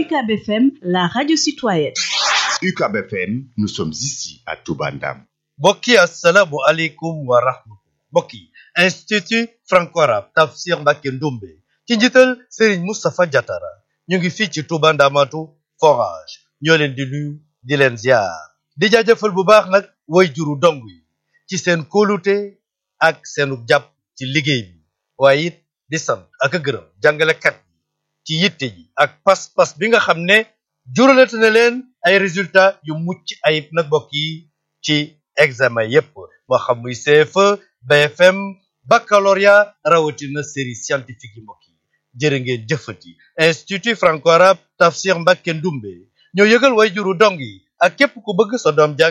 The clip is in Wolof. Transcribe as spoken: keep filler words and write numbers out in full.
U C A B F M, la radio citoyenne. U C A B F M, nous sommes ici à Touba Ndam. mbokk yi assalaamu aleykum wa rahmatullah. mbokk yi institut franco-arabe Tafsir Mbacké Ndoumbe ci njiital Serigne Moustapha Diatara ñu ngi fii ci Touba Ndamatu forage ñoo leen di nuyu di leen ziar di jaajëfal bu baax nag way juru dong yi ci seen kóolute ak seenu jàpp ci liggéey bi waaye it di sant ak a gërëm jàngalekat yi ci yitte ji ak pas-pas bi nga xam ne juralate na leen ay résultats yu mucc ayib nag mbokk yi ci examen yépp moo xam muy C F E B F M baccalauréat rawatina série scientifique yi mbokk yi jërë ngeen jëfati institut franco-arabe Tafsir Mbacké Ndoumbe ñoo yëgal way juru dong yi ak képp ku bëgg sa doom jàng